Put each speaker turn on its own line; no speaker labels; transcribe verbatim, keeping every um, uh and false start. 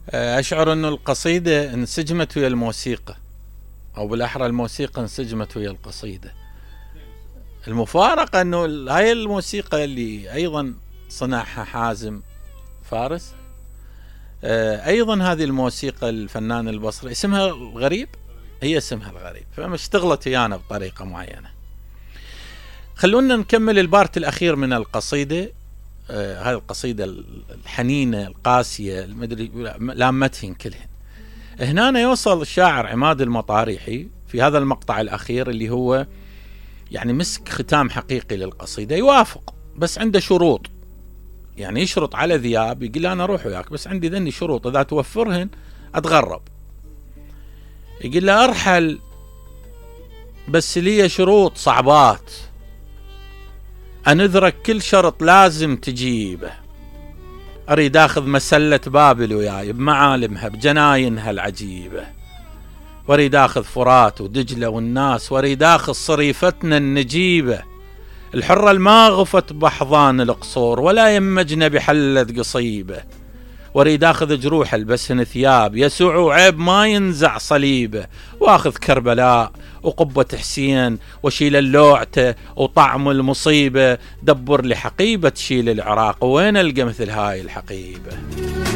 أشعر أنه القصيدة انسجمت ويا الموسيقى، أو بالأحرى الموسيقى انسجمت ويا القصيدة. المفارقة أنه هاي الموسيقى اللي أيضا صنعها حازم فارس، أيضا هذه الموسيقى الفنان البصري اسمها الغريب، هي اسمها الغريب، فما اشتغلت ويانا بطريقة معينة. خلونا نكمل البارت الأخير من القصيدة. آه هذه القصيدة الحنينة القاسية المدري لامتهن كلهن. هنا يوصل الشاعر عماد المطاريحي في هذا المقطع الأخير اللي هو يعني مسك ختام حقيقي للقصيدة. يوافق بس عنده شروط، يعني يشرط على ذياب، يقول له أنا أروح وياك بس عندي ذني شروط إذا توفرهن أتغرب. يقول له أرحل بس لي شروط صعبات، أنذرك كل شرط لازم تجيبه. أريد أخذ مسلة بابل وياي بمعالمها بجناينها العجيبة، وأريد أخذ فرات ودجلة والناس، وأريد أخذ صريفتنا النجيبة الحرة الما غفت بحضان القصور ولا يمجنا بحلة قصيبة، وأريد أخذ جروح البسهن ثياب يسوع وعيب ما ينزع صليبه، وأخذ كربلاء وقبة حسين وشيل اللوعته وطعم المصيبة، دبر لي حقيبة تشيل العراق وين ألقى مثل هاي الحقيبة.